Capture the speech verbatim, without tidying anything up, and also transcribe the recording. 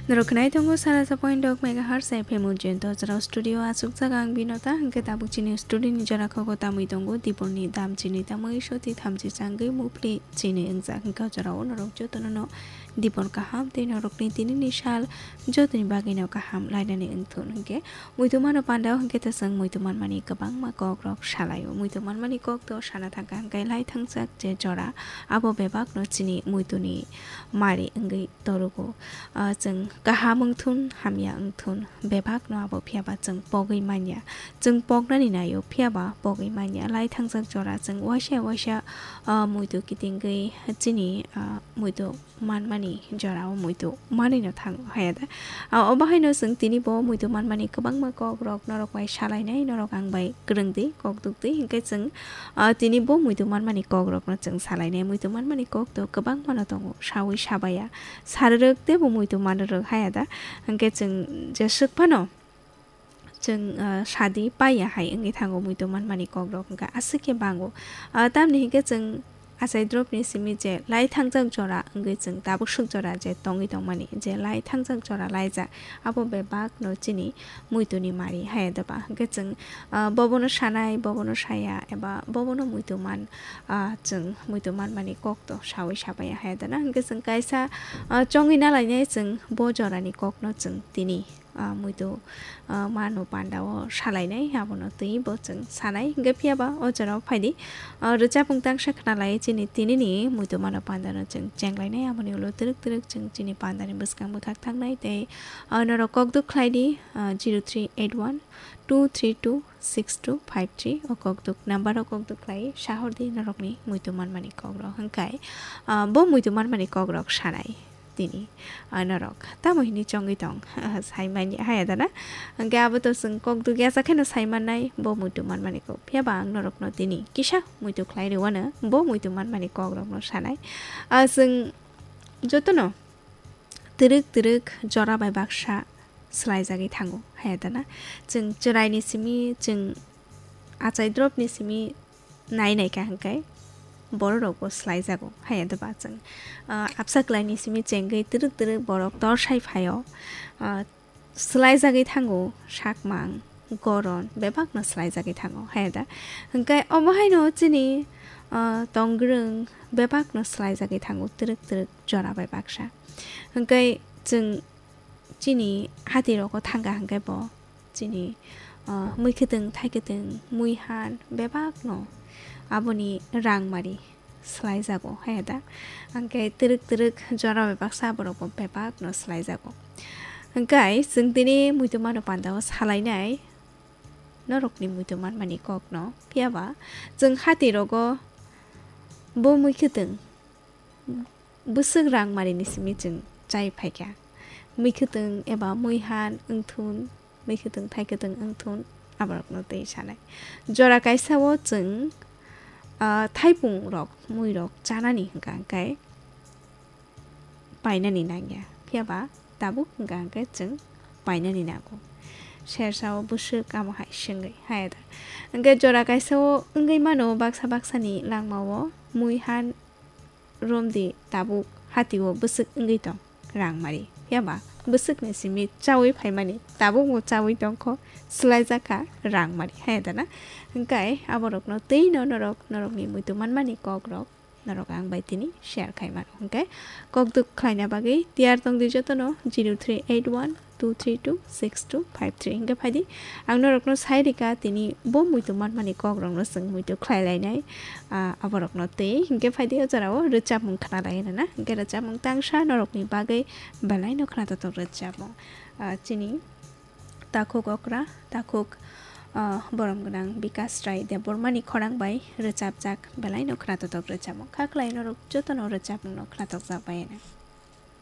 Norok khwnai tongo sara sa point dok megahertz F M Ujjain to jora studio aswk jaga ang Binota, hwnkhe tabuk chini studio ni jora kho tamwi tongo, dibor ni dam chini tamwi soti thamchi changwi mupli chini wngjak, hwnkhe o jora o norok jotono no dibor kaham tei norok ni tini ni sal jotoni bagwi no kaham lainani wngthun hwnkhe muitu mano panda o hwnkhe ta chwng muitu manmani kwbangma kok rok salai o, muitu manmani kok to sana thangkha hwnkhe lai thangjak je jora abo bebak no chini muitu ni mari wngwi torugo. Ah, chwng kaham wngthun, hamya wngthun, bebakno abo phiyaba chwng pogwi manya. Chwng poknani naio, phiyaba pogwi manya. Lai thangjak jora chwng waisa waisa, ah, muitu kitingwi chini, ah, muitu manmani jorao muitu manwino thango, haya da? Ah, obo haino chwng tini bo muitu manmani kwbangma kokrok norok bai salainai, norok ang bai kwrwngdi, kok dukdi, hwnkhe chwng, ah, tini bo muitu manmani kokrokno chwng salainai. Muitu manmani kok to kwbangmano tongo, sawi sabaya. Sarwrwk teibo muitu manrwk haya da? Hwnkhe chwng jeswk phano chwng, ah, sadi paiya hai wngwi thango muitu manmani kokrok hwnkha aswk khe bango. Ah, tamni hwnkhe chwng achai dropni simi je lai thangjak jora wngwi chwng tabuk swk jora je tongwi tongmani, je lai thangjak jora laijak, abo bebakno chini muituni mari haya da ba? Hwnkhe chwng, ah, bobono sanai, bobono saya, eba bobono muitu man, ah, chwng muitu manmani kok to sawi sabaya haya da na? Hwnkhe chwng kaisa, ah, chongwi nalainai chwng bo jorani kokno chwng tini, ah, muitu, ah, mano panda o salainai, abono twi bo chwng sanai. Hwnkhe phiyaba o jorao phaidi, ah, rwchapmung tangsa khnalai chini tinini muitu mano pandano chwng chenglainai, aboni ulo twrwk twrwk chwng chini pandani bwskang bwkhak thangnai tei, ah, norok kok duk khlaidi, ah, zero three eight one two three two six two five three o kok duk number o kok duk khlai sahordi norokni muitu manmani kokrok hwnkhe, ah, bo muitu manmani kokrok sanai. Tini, ah, norok tamo hini chongwi tong, saimanya haya da na? Hwnkhe abo to chwng kok dugya sa kheno saimannai, bo muitu manmani kok. Phiyaba ang norokno tini kisa muitu khlai rwano, bo muitu manmani kokrokno sanai. Ah, chwng jotono twrwk twrwk jora bai baksa swlaijagwi thango, haya da na? Chwng chwraini simi, chwng achai dropni simi nai naikha hwnkhe bororokbo swlaijago, haya da ba chwng, ah, apsa kwlaini simi chengwi twrwk twrwk borok torsai phaio, ah, swlaijagwi thango sakmang, goron bebakno swlaijagwi thango, haya da? Hwnkhe omo haino chini, ah, tongwrwng bebakno swlaijagwi thango twrwk twrwk jora bai baksa. Hwnkhe chwng chini hatirogo thangkha hwnkhe bo chini, ah, muikhwtwng, thaikhwtwng, muihan bebakno aboni rangmari swlaijago, haya da? Hwnkhe twrwk twrwk jora bai baksa borokbo bebakno swlaijago. Hwnkhe chwng tini muitu mano pandao salainai norokni muitu manmani kokno. Phiyaba chwng hatirogo bo muikhwtwng bwswk rangmarini simi chwng chai phaikha. Muikhwtwng eba muihan wngthun, muikhwtwng thaikhwtwng wngthun, aborokno twi sanai. Jora kaisa o chwng, ah, thaipungrok, muirok chanani hwnkha hwnkhe painani nangya. Phiyaba tabuk hwnkha hwnkhe chwng painani nango. Sersa o bwswk amo hai swngwi haya da. Hwnkhe jora kaisa o wngwi mano baksa baksani langma o muihan romdi tabuk hatio bwswk wngwi tong rangmari. Phiyaba bwswkni simi chaui phaimani tabukbo chaui tongkho, swlaijakha rangmari, haya da na? Hwnkhe aborokno twino norok, norokni muitu manmani kokrok norok ang bai tini share khai mano. Hwnkhe kokduk khlaina bagwi tiyar tongdi jotono zero three eight one two three two six two five three. Hwnkhe phaidi ang norokno sai rika tini bo muitu manmani kokrokno chwng muitu khlai lainai, ah, aborokno twi. Hwnkhe phaidi o jorao rwchapmung khna lai rwna. Hwnkhe rwchapmung tangsa norokni bagwi belaino khna totok rwchapmung. Ah, chini takhuk okra, takhuk, ah, borom gwnang Bikas Rai Debbarmani khorang bai rwchapjak belaino khna totok rwchapmung. Kha khlai norok jotono rwchapmungno khna tokjak bai rwna.